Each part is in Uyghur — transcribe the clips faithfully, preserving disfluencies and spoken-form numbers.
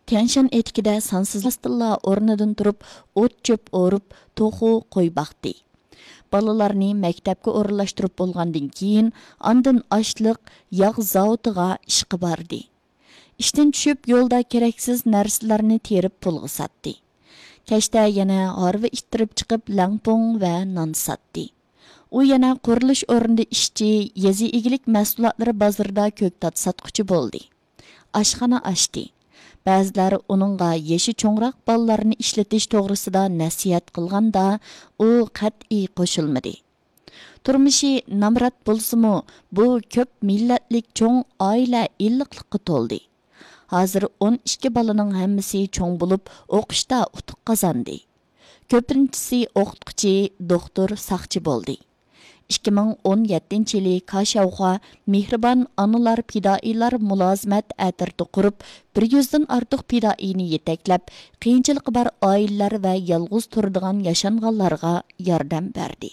تيەنشان ئېتىكىدە سانسىز راستىنلا ئورنىدىن تۇرۇپ، ئوت-چۆپ ئورۇپ، توخۇ، قوي باقتى. بالىلارنى مەكتەپكە ئورۇنلاشتۇرۇپ بولغاندىن كېيىن، ئاندىن ئاشلىق، ياغ زاۋۇتىغا ئىشقا باردى. ئىشتىن چۈشۈپ، يولدا كېرەكسىز نەرسىلەرنى تېرىپ پۇلغا ساتتى. كەچتە يەنە ھارۋا ئىتتىرىپ چىقىپ، لەڭپۇڭ ۋە نان ساتتى. ئۇ يەنە قۇرۇلۇش ئورنىدا ئىشچى، يېزا ئىگىلىك مەھسۇلاتلىرى بازىرىدا كۆكتات ساتقۇچى بولدى. ئاشخانا ئاچتى. بەزىلەر ئۇنىڭغا يېشى چوڭراق بالىلارنى ئىشلىتىش توغرىسىدا نەسىھەت قىلغاندا، ئۇ قەتئىي قوشۇلمىدى. تۇرمۇشى نامرات بولسىمۇ، بۇ كۆپ مىللەتلىك چوڭ ئائىلە ئىللىقلىققا تولدى. ھازىر ئون ئىككى بالىنىڭ ھەممىسى چوڭ بولۇپ، ئوقۇشتا ئۇتۇق قازاندى. كۆپىنچىسى ئوقۇتقۇچى، دوختۇر، ساقچى بولدى. ئىككى مىڭ ئون يەتتىنچى يىلى كاشياۋخۇا مېھرىبان ئانىلار پىدائىيلار مۇلازىمەت ئەترىتى قۇرۇپ، بىر يۈزدىن ئارتۇق پىدائىينى يېتەكلەپ، قىيىنچىلىقى بار ئائىلىلەر ۋە يالغۇز تۇرىدىغان ياشانغانلارغا ياردەم بەردى.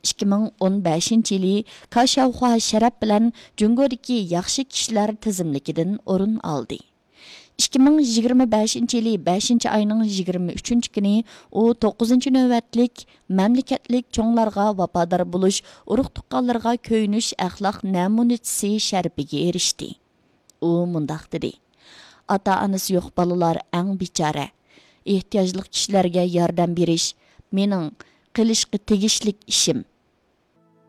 ئىككى مىڭ ئون بەشىنچى يىلى كاشياۋخۇا شەرەپ بىلەن جۇڭگودىكى ياخشى كىشىلەر تىزىملىكىدىن ئورۇن ئالدى. ئىككى مىڭ يىگىرمە بەشىنچى يىلى بەشىنچى ئاينىڭ يىگىرمە ئۈچىنچى كۈنى ئۇ توققۇزىنچى نۆۋەتلىك مەملىكەتلىك چوڭلارغا ۋاپادار بولۇش، ئۇرۇق-تۇغقانلىرىغا كۆيۈنۈش ئەخلاق نەمۇنىچىسى شەرىپىگە ئېرىشتى. ئۇ مۇنداق دېدى: «ئاتا-ئانىسى يوق بالىلار ئەڭ بىچارە. ئېھتىياجلىق كىشىلەرگە ياردەم بېرىش مېنىڭ قىلىشقا تېگىشلىك ئىشىم.»